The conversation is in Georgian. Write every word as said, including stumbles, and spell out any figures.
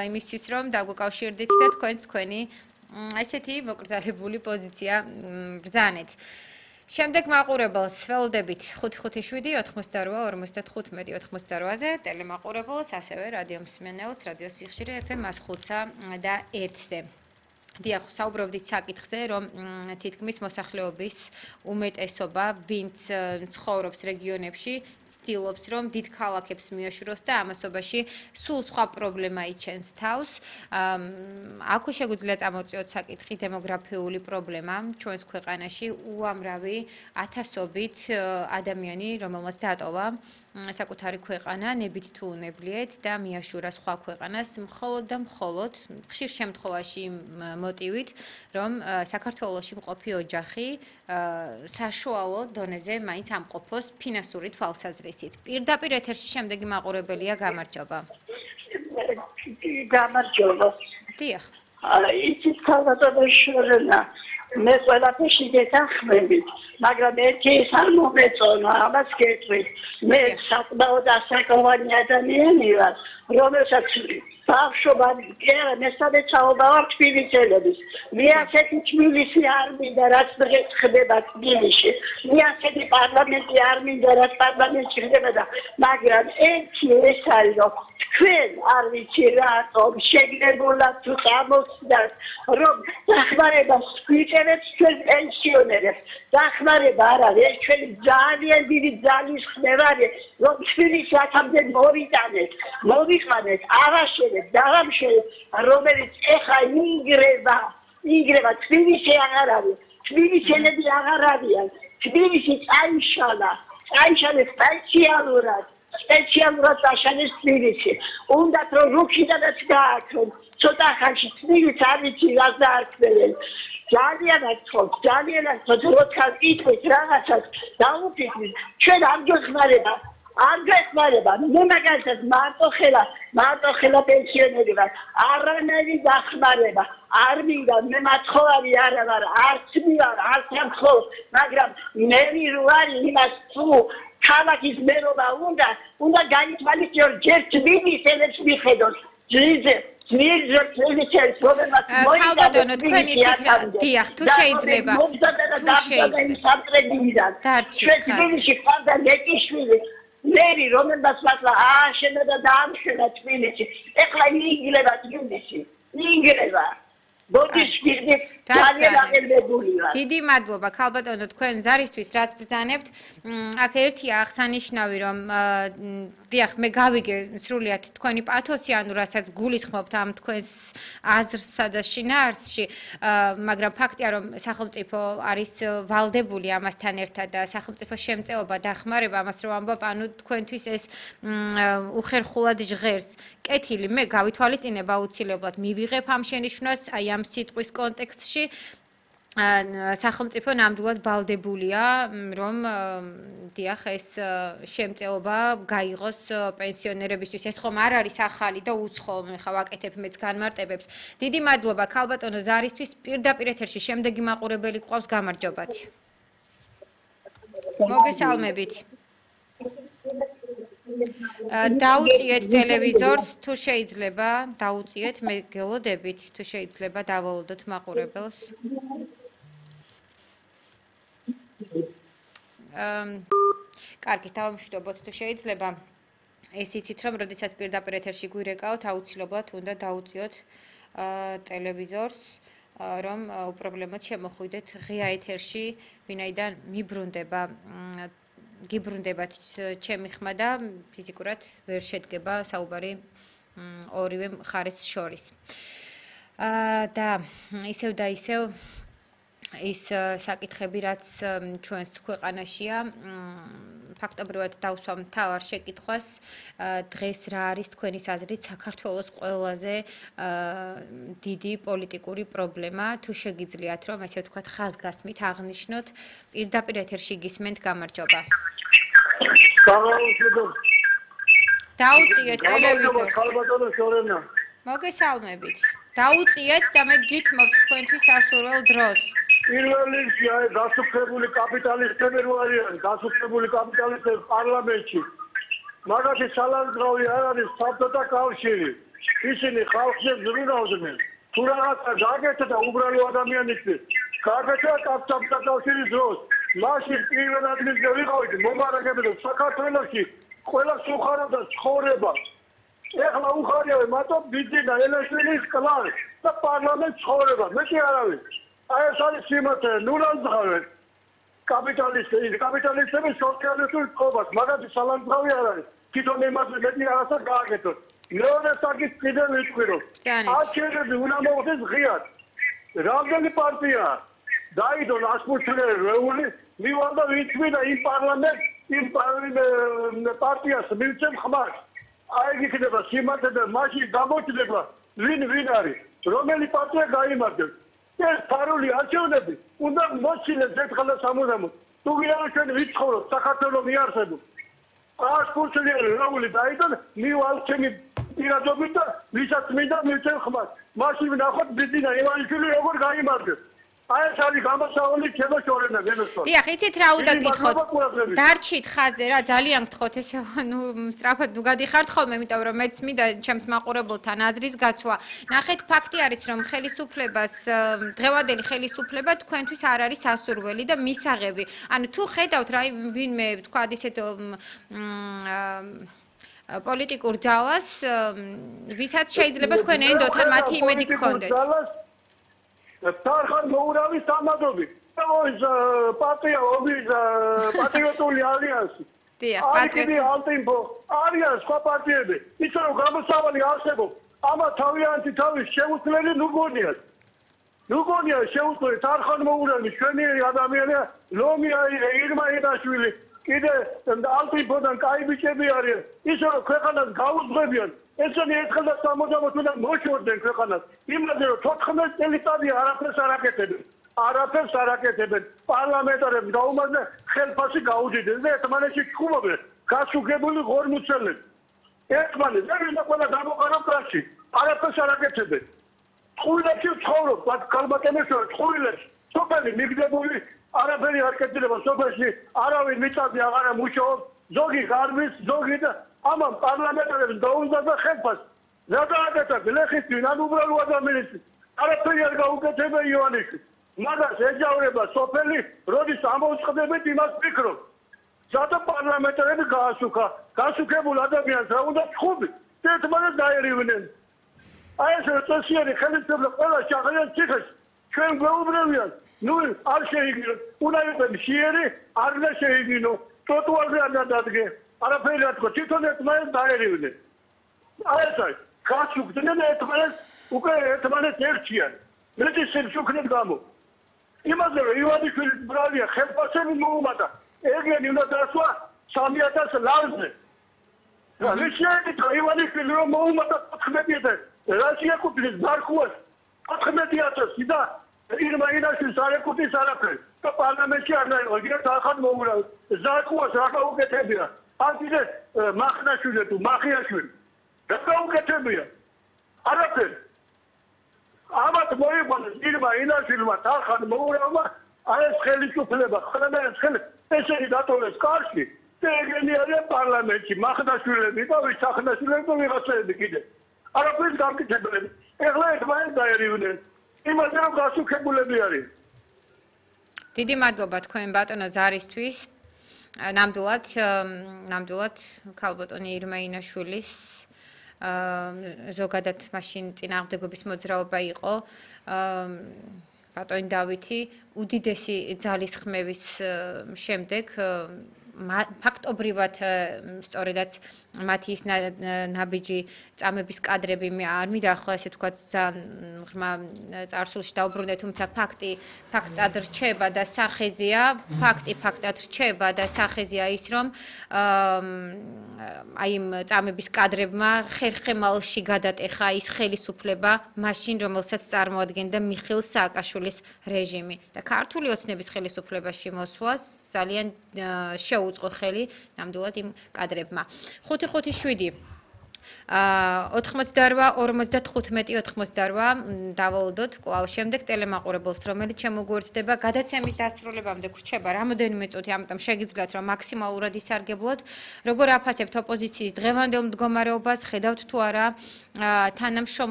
იმისთვის რომ დაგვეკავშირდით და თქვენს თქვენი ესეთი მოკრძალებული პოზიცია ბრძანეთ. შემდეგ მაყურებელს ველოდებით ხუთი ხუთი შვიდი ოთხმოცდაორვა ორმოცდათხუთმეტი ოთხმოცდაორვაზე, ტელემაყურებელს, ასევე რადიო მსმენელს, რადიო სიხშირე ეფ ემ εκατს ხუთსა და ერთზე. დიახ, საუბრობდით საკითხზე, რომ თითქმის მოსახლეობის უმეტესობა, ვინც ცხოვრობს რეგიონებში, ცდილობს, რომ დიდ ქალაქებს მიეშუროს და ამასობაში სულ სხვა პრობლემა იჩენს თავს. აქვე შეგვიძლია წამოწიოთ საკითხი დემოგრაფიული პრობლემა ჩვენს ქვეყანაში, უამრავი ათასობით ადამიანი, რომელმაც დატოვა საკუთარი ქვეყანა, ნებით თუ უნებლიეთ და მიაშურა სხვა ქვეყანას, მხოლოდ და მხოლოდ ხშირ შემთხვევაში მოტივით, რომ საქართველოში მყოფი ოჯახი საშუალო დონეზე მაინც ამყოფოს ფინანსური თვალსაზრისით. პირდაპირ ეთერში შემდეგი მაყურებელია, გამარჯობა. გამარჯობა. დიახ. იცით ქალბატონო შორენა, მე ყველაფერში გეთანხმებით, მაგრამ ერთი ის არ მომეწონა, ამას გეტყვით. მე საკმაოდ ასაკოვანი ადამიანი ვარ, რომელსაც ბავშვობანი, კი, მესამე საუბარ ვარ თბილისელების. მე ასეთი თბილისი არ მინდა, რაც დღეს ხდება თბილისში. მე ასეთი პარლამენტი არ მინდა, რაც პარლამენტში ხდება, მაგრამ ერთი ეს არის, რომ თქვენ არ ვიცი რატომ შეგნებულად თუ წამოსდათ, რომ დახმარებას გვიჭერეთ ჩვენ პენსიონერებს. დახმარება არ არის, ეს ჩვენი ძალიან დიდი ძალის ხმევარია, რომ თბილისი აქამდე მოვიტანეთ, მოვიყვანეთ, ავაშენეთ, დავამშვენეთ, რომელიც ეხა იგრება, იგრება, თბილისი აღარ არის, თბილისელები აღარ არიან, თბილისი წაიშალა, წაიშალეს სპეციალურად, სპეციალურად წაიშალეს თბილისი. უნდათ რომ რუქიდანაც გააქრონ, ცოტა ხანში თბილისი არ ვიცი რას დაარქმევენ. ძალიან აცხობ, ძალიან აცხობ, როცა იტყვით რაღაცას დაუფიქრეთ, ჩვენ არ გეხმარება, არ გეხმარება. მე მაგალითად მარტო ხელა, მარტო ხელა პენსიონერი ვარ, არანაირი დახმარება არ მინდა, მე მაცხოვარი არა ვარ, არც მივარ, არც ამხო, მაგრამ მე ვარი იმას თუ ქალაქის მერობა უნდა, უნდა გაითვალისწინოს ჯერ თბილისელებს მიხედოს, ძიძე ქალბატონო, თქვენი თითქმა, დიახ, თუ შეიძლება, თუ შეიძლება. თბილისში ხვალდა მეტიშვილი, მერი, რომელსაც მართლა ააშენა და დაამშვენა თბილისი. ეხლა იგრება თბილისი, იგრება. დიდი მადლობა ქალბატონო, თქვენ ზარისთვის რაც ბრძანებთ. აქ ერთია აღსანიშნავი, რომ დიახ, მე გავიგე სრულიად თქვენი პათოსი, ანუ რასაც გულისხმობთ ამ თქვენს აზრსა და შინაარსში, მაგრამ ფაქტია, რომ სახელმწიფო არის ვალდებული ამასთან ერთად და სახელმწიფო შემწეობა დახმარება, ამას რომ ამბობ, ანუ თქვენთვის ეს უხერხულად ჟღერს. კეთილი, მე გავითვალისწინებ აუცილებლად მივიღებ ამ შენიშვნას, აი ამ სიტყვის კონტექსტში სახელმწიფო ნამდვილად ვალდებულია, რომ დიახ, ეს შემწეობა გაიღოს პენსიონერებისთვის. ეს ხომ არ არის ახალი და უცხო, ხა ვაკეთებ მეც განმარტებებს. დიდი მადლობა ქალბატონო ზარისთვის. პირდაპირ ეთერში შემდეგი მაყურებელი გვყავს, გამარჯობათ. მოგესალმებით. დაუწიეთ ტელევიზორს, თუ შეიძლება, დაუწიეთ, მე გელოდებით, თუ შეიძლება დავალოდოთ მაყურებელს. კარგი, დავამშვიდობოთ, თუ შეიძლება. ეს იცით, რომ როდესაც პირდაპირ ეთერში გვირეკავთ, აუცილებლად უნდა დაუწიოთ ტელევიზორს, რომ უპრობლემოდ შემოხვიდეთ ღია ეთერში, ვინაიდან მიბრუნდება გიბრუნდებათ ჩემი ხმა და ფიზიკურად ვერ შედგება საუბარი ორივე მხარეს შორის. და ისევ და ისევ ის საკითხები, რაც ჩვენს ქვეყანაშია, ფაქტობრივად დავსვამ მთავარ შეკითხვას, დღეს რა არის თქვენი აზრით საქართველოს ყველაზე დიდი პოლიტიკური პრობლემა, თუ შეგიძლიათ რომ ესე ვთქვათ ხაზგასმით აღნიშნოთ, პირდაპირ ეთერში გისმენთ, გამარჯობა. დაუწიეთ ტელევიზორს. მოგესალმებით. დაუწიეთ და მე გითმობთ თქვენთვის ასურველ დროს. პირველ რიგში აი დასუფლებული კაპიტალისტები რო არიან, დასუფლებული კაპიტალისტები პარლამენტში. მაგაში სალანძრავი არ არის საბჭოთა კავშირი. ისინი ხალხზე ზრუნავდნენ. თუ რაღაცა გაკეთდა და უბრალო ადამიანისთვის, გაკეთდა კავშირის კავშირის დროს, მაშინ პირველ ადგილზე ვიყავით მომარაგებელი საქართველოში, ყველა სუხარობდა ცხოვრება. ეხლა უხარია მათო ბიძინა ელეშვილის კლანი და პარლამენტ ცხოვრება. მეტი არავის. აი ეს არის სიმართლე, ნულანძღავენ. კაპიტალისტები, კაპიტალისტები სოციალისტურ წყობას, მაგათი სალანძღავი არ არის. თვითონ იმაზე მეტი რაღაცა გააკეთოთ. მეორე საკითხი კიდევ ვიტყვირო. არჩევნები უნდა მოხდეს ღიად. რამდენი პარტია დაიდო ასპუჩლერეული მივალდა ვიცვიდა იმ პარლამენტ იმ პარტიას მივცემ ხმას. აი იქნება სიმართლე და მაშინ გამოჩნდება ვინ ვინ არის, რომელი პარტია გაიმარჯვებს. ეს ფარული არჩევნები უნდა მოჩინეს ერთხელ და სამუდამოდ. თუ ვირავ ჩვენ ვიცხოვრობ საქართველოს მიარსებულ. ასპუჩლერეული დაიდო მივალ ჩემი პირადობით და ვისაც მინდა მივცემ ხმას. მაშინ ვნახოთ ბიძინა ივანიშვილი როგორ გაიმარჯვებს. აი ეს არის გამოსავალი ჩემო შორენა ვენოსო. დიახ, იცით რა უნდა გითხოთ? დარჩით ხაზზე რა ძალიან გთხოვთ ესე ნუ სწრაფად ნუ გადიხართ ხოლმე, იმიტომ რომ მეც მინდა ჩემს მაყურებელთან აზრის გაცვლა. ნახეთ, ფაქტი არის რომ ხელისუფლებას დღევანდელი ხელისუფლება თქვენთვის არ არის სასურველი და მისაღები. ანუ თუ ხედავთ რა ვინმე თქვა ისეთ პოლიტიკურ ძალას, ვისაც შეიძლება თქვენ ენდოთ ან მათი იმედი გქონდეთ. თარხან მოურავის სამადობი. ეს პარტია ობის პატრიოტული ალიანსი. დიახ, პატრიოტული ალტიმპო. არის სხვა პარტიები. ის რომ გამოსავალი არსებობს. ამა თავიანთი თავის შეუძლელი ნუგონიას. ნუგონია შეუძლელი თარხან მოურავის ჩვენი ადამიანია ლომია ირმა იდაშვილი. კიდე ალტიმპოდან კაი ბიჭები არიან. ის რომ ქვეყანას გაუძღვებიან. ესენი ერთხელ და სამუდამოდ უნდა მოშორდნენ ქვეყანას. იმაზე რომ თოთხმეტ წელიწადი არაფერს არ აკეთებენ. არაფერს არ აკეთებენ. პარლამენტარებს გაუმარჯვეს ხელფასი გაუძიდნენ და ერთმანეთში ჩხუბობენ. გასუგებული ღორმუცელები. ერთმანეთს ვერ უნდა ყველა გამოყარო პრაში. არაფერს არ აკეთებენ. წყვილებში ცხოვრობ, მათ ქალბატონებს წყვილებში. სოფელი მიგდებული არაფერი არ კეთდება სოფელში. არავინ მიწაზე აღარ მუშაობს. ზოგი ღარბის, ზოგი და ამან პარლამენტარებს დაუზარდა ხელფასი. რა დააკეთა გლეხისთვის, ან უბრალო ადამიანისთვის. არაფერი არ გაუკეთებია ივანიშვილი. მაგას ეჯავრება სოფელი, როდის ამოუწყდებით იმას ფიქრობ. ზადა პარლამენტარები გაასუქა. გასუქებულ ადამიანს რა უნდა ჩხუბი? ერთმანეთს დაერივნენ. აი ეს წესიერი ხელისუფლება ყველა შაღლიან ციხეში. ჩვენ გვეუბნებიან, ნუ არ შეიგინოთ. უნდა იყოს მშიერი, არ უნდა შეიგინო. ტროტუარზე არ დადგე. არაფერი არ თქვა, თვითონ ერთმანეთს დაერივნენ. აი ეს არის. გასუქდნენ ერთმანეთს, უკვე ერთმანეთს ერჩიან. მეტი შემშუქნეთ გამო. იმაზე რომ ივანიშვილის ბრალია ხელფასები მოუმატა. ეგენი უნდა დასვა სამი ათას ლარზე. რა შეიძლება ივანიშვილი რომ მოუმატა ოთხმეტი ათასი. რა შეეკუთვნის ბარქუას ოთხმეტი ათასი და ირმა ილაშვილს არ ეკუთვნის არაფერი. და პარლამენტში არ დაიყო, იქნებ ახალ მოურავ. ზარქუას რა გაუკეთებია? ან კიდე მახნაშვილი თუ მახიაშვილი. რა გაუკეთებია? არაფერი. ამათ მოიყვანეს ირმა ილაშვილმა ახალ მოურავმა, აი ეს ხელისუფლება, ხელმეერეს ხელი ესენი დატოვეს კარში. და ეგენი არის პარლამენტში, მახნაშვილები და ვისახნაშვილები და ვიღაცები კიდე. არაფერი გამკეთებელი. ეხლა ერთმანეთს დაერივნენ. იმაზე რომ გასუქებულები არის. დიდი მადლობა თქვენ ბატონო ზარისთვის. ნამდვილად, ნამდვილად ქალბატონი ირმა ინაშვილის ზოგადად მაშინ წინააღმდეგობის მოძრაობა იყო. ბატონი დავითი უდიდესი ძალისხმევის შემდეგ ფაქტობრივად სწორედაც მათი ის ნაბიჯი წამების კადრები მე არ მიდახო ესე თქვა ღრმა წარსულში დაუბრუნდე, თუმცა ფაქტი ფაქტად რჩება და სახეზია, ფაქტი ფაქტად რჩება და სახეზია ის რომ აი იმ წამების კადრებმა ხერხემალში გადატეხა ის ხელისუფლება მაშინ რომელსაც წარმოადგენდა მიხეილ სააკაშვილის რეჟიმი და ქართული ოცნების ხელისუფლებაში მოსვლას ძალიან შეუწყო ხელი ნამდვილად იმ კადრებმა. ხუთი ხუთი შვიდი ოთხმოცდაორვა ორმოცდათხუთმეტი ოთხმოცდაორვა დავალოდოთ კვლავ შემდეგ ტელემაყურებელს რომელიც შემოგვერთდება გადაცემის დასრულებამდე გრჩება რამოდენიმე წუთი ამიტომ შეგიძლიათ რომ მაქსიმალურად ისარგებლოთ როგორ აფასებთ ოპოზიციის დღევანდელ მდგომარეობას ხედავთ თუ არა თანამშრომლობა